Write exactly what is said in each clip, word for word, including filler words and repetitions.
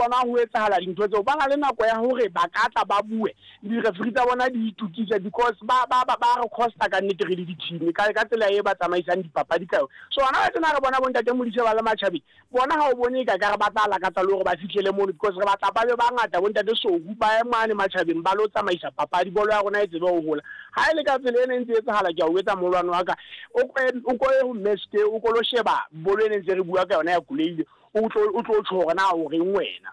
bona ho etsahala dintho tseo, ba na le nako ya hore ba ka tla ba bue di-referee tsa bona di itukise, because ba ba ba ba re costa ka nnete re le di-team ka ka tsela e ba tsamaisang dipapadi ka yona. So hona tjena re bona bontate Modise ba le matjhabeng, bona ha o bone ka ka re ba tla lakatsa le hore ba fihlele mono, because re batla ba be bangata bontate Sohu ba ye mane matjhabeng ba lo tsamaisa papadi, bolo ya rona e tsebe ho hola. Ha e le ka tsela ena e ntse etsahala, ke a o etsa moholwane wa ka, o ko o ko ye ho Mmeske, o ko lo sheba bolo ena ntse re bua ka yona ya Kuleile, o tlo o tlo tjho hore na o reng wena.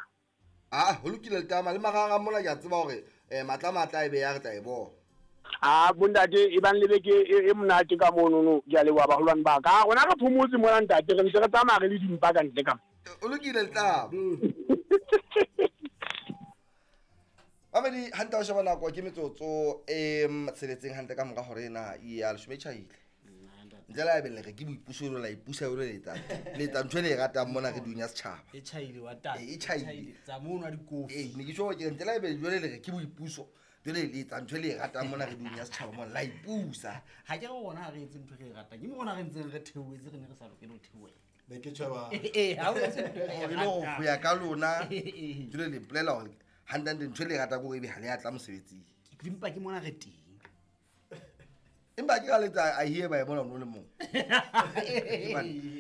Ah, ho lokile letama le marangrang mona, ke a tseba hore eh matla matla e be ya re tla e bona. Ah, bontate e bang le beke e e monate ka monono, ke a leboha baholwane ba ka. Rona re phomotse mona ntate, re ntse re tsamaya re le dimpa ka ntle ka mo. O lokile letama. Mamedi hantle o sheba nako ke metsotso e tsheletseng hantle ka mora hore ena ya leshome e tjhaile. Ntle le ha ebe le re ke boipuso le la ipusa le letsa. Le etsa ntho e le e ratang mona re dunya setjhaba. E tjhaile wa tata. E tjhaile. Tsa mono wa dikofi. Eh, ne ke tjho ke ntle le ha ebe jwale le re ke boipuso. Jwale le etsa ntho e le e ratang mona re dunya setjhaba mona la ipusa. Ha ke re rona ha re etse ntho e re e ratang. Ke mo rona re ntseng re theohetse, re ne re sa lokele ho theohela. Ne ke tjheba. Eh, ha o etse ntho e re e Hore le hore ratang. ho ya ka lona, Eh, eh. jwale le mpolela hore hantle ntho e le e ratang ke hore ebe ha le a tla mosebetsing. Empa ke mona re teng. Empa ke ka letsa a hear by mona o le mong.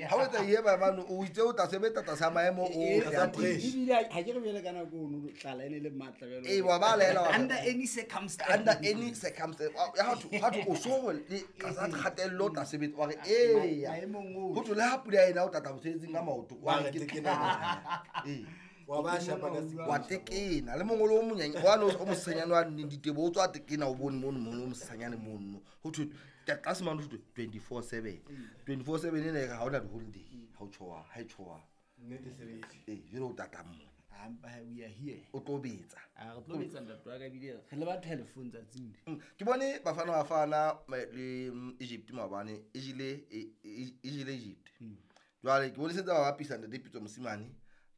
Ha o etsa hear by mane, o itse o tla sebetsa tlasa maemo o Eh, ya eh, teng. ebile ha ke re bjale ka nako ono tlala e ne le matla bjalo. Eh, wa ba laela wa re- Under any circumstance. Under any circumstance. Wa- ya ha thwe, ha thwe o so re le tlasa kgatello o tla sebetsa, wa re, eya. Maemong ohle. Ho thwe le ha pula ena o tla tla mosebetsing ka maoto, wa Wa re re ke tekena. tla. Eh. Wa ba shapa ka sekolo. Wa tekena. Le mongolo o monyane, wa no o mosenyane wa neng ditebo, o tswa tekena o bone mono, mono o mosenyane mono. Ho thwe, ka tlase mane ho thwe twenty-four seven. twenty-four seven ena e re ha hona di-holiday, ha o tjhoha, ha e tjhoha. Nnete sebetsi. Eh, jwale o tata mona. Ah, empa we are here. O tlo betsa. Ah, re tlo betsa ntate wa ka ebile re le ba telephone tsatsing le. Mm, ke bone Bafana Bafana, eh, le, mm, Egypt maobane, e jele, e, e, e jele Egypt. Mm. Jwale ke bone sentse ba bapisa ntate Pitso Mosimane,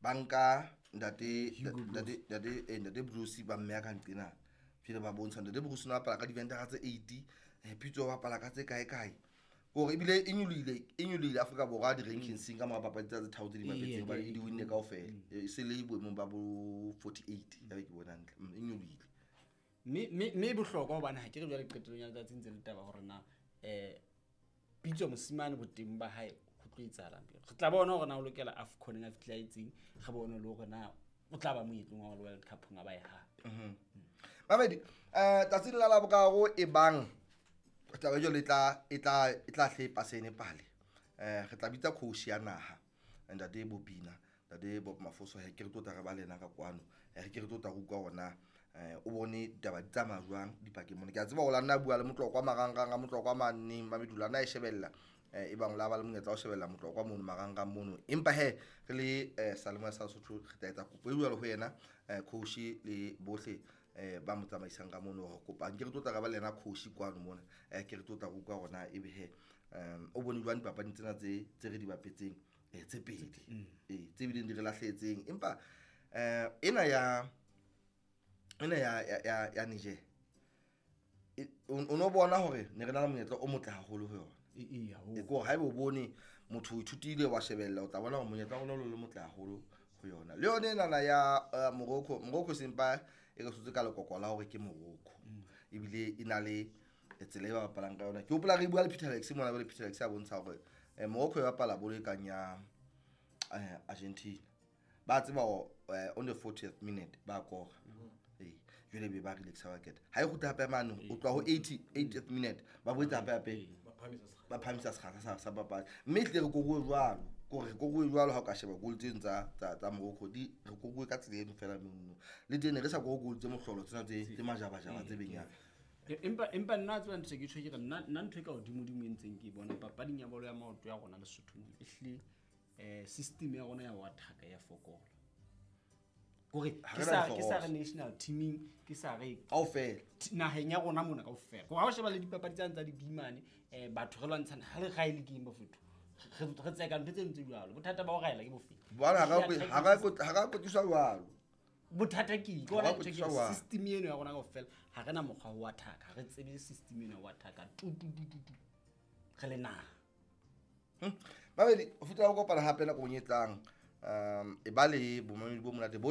ba nka ntate, Hugo Broos. ntate, ntate, eh, ntate Broos ba mmeya ka nqena. Jwale ba bontsha ntate Broos o ne a bapala ka diventara tse eighty, eh, Pitso o bapala ka tse kae kae. Hore ebile e nyolohile, e nyolohile Afrika Borwa di-rankingseng ka mora papadi tsa tse tharo tse di Ee, bapetseng, hobane ee, e di winne kaofela. E se le boemong ba bo forty-eight, ya be ke bona hantle. Mm, e nyolohile. Mme, mme, mme e bohlokwa hobane ha ke re jwale qetellong ya letsatsi ntse le taba hore na, eh, Pitso Mosimane boteng ba hae ho tlo etsahalang pele. Re tla bona hore na o lokela AFCON a fihla etseng, re bone le hore na o tla ba moetlong wa World Cup nga ba e hape. Mhm. Mamedi, eh, tsatsing la Laboraro e bang taba jwale e tla, e tla, e tla hle pasene pale. Eh, re tla bitsa coach ya naha, ntate Bobina, ntate Bob Mafoso, he ke re tlo tla re ba le yena ka kwano. Eh, ke re tlo tla re utlwa hore na, eh, o bone ditaba di tsamaya jwang dipakeng mona. Ke a tseba hore la nna bua le Motlokwa marangrang a Motlokwa maneng, Mamedi, la nna e shebella. Eh, e bang la ba le monyetla wa ho shebella Motlokwa mono marangrang mono. Empa he, re le, eh, Salemoya sa Sesotho, re tla etsa kopo e jwalo ho yena, eh, coach le bohle, eh, ba mo tsamaisang ka mono hore kopa. Nke re tlo tla re ba le yena coach kwano mona. Eh, ke re tlo tla re utlwa hore na ebe he, um, o bone jwang dipapading tsena tse, tse re di bapetseng, eh, tse pedi. Mm. Eh, tse bileng di re lahlehetseng. Empa, eh, ena ya, ena ya, ya, ya, ya Niger, e, o, o no bona hore ne re na le monyetla o motle haholo ho yona. E, e, haholo. E, ke hore haeba o bone motho o ithutile wa shebella, o tla bona hore monyetla wa rona o le motle haholo ho yona. Le yona enana ya, eh, Morocco, Morocco sempa e re sotse ka lekoko la hore ke Morocco. Mm. Ebile e na le tsela e ba bapalang ka yona. Ke hopola re bua le Peter Alex mona, jwale Peter Alex a bontsha hore, eh, Morocco e bapala bolo e kang ya, eh, Argentina. Ba tseba hore, eh, on the fortieth minute ba kora. Mm. Eh, jwale be ba relaxa ba keta. Ha e kgutla hape mane, o tloha ho eighty, eightieth minute, ba boetse hape hape. Ba phahamisa sekgahla sa, sa papadi. Mme ehlile re koruwe jwalo. Ke hore re koruwe jwalo ha o ka sheba goal tseno tsa, tsa, tsa Morocco, di re koruwe ka tsela eno fela mono. Le teng ne re sa koruwe goal tse mohlolo tsena tse, tse majabajaba tse benyang. E, empa, empa nna tseba ntho e ke tjho ke re, nna, nna ntho e ka hodimodimo e ntseng ke e bona papading ya bolo ya maoto ya rona Lesotho mona, ehlile, eh, system ya rona ya ho attack ya fokola. Kore Ha ke re na sa, ke sa re diforose. national teaming, ke sa re Kaofela. T-, naheng ya rona mona kaofela. Kore ha o sheba le dipapadi tsane tsa dibimane, eh, batho re lwantshana, ha re raele ke eng bafethu? Re, re tseka ntho tse ntse jwalo. Bothata ba ho raela ke bofe? Bona, ha re Ehlile ha re attack ha re ha re kwetiswa jwalo. Bothata ke eng? Ke Ha re hona ntho ke kwetiswa jwalo. system eno ya rona kaofela, ha re na mokgwa wa ho attack, ha re tsebe system eno ya ho attack. Tu, tu, tu, tu, tu. Re le naha. Hm. Babedi, ho fihlela ho kopana hape nakong e tlang. Um, e ba le bomamedi bo monate bo tla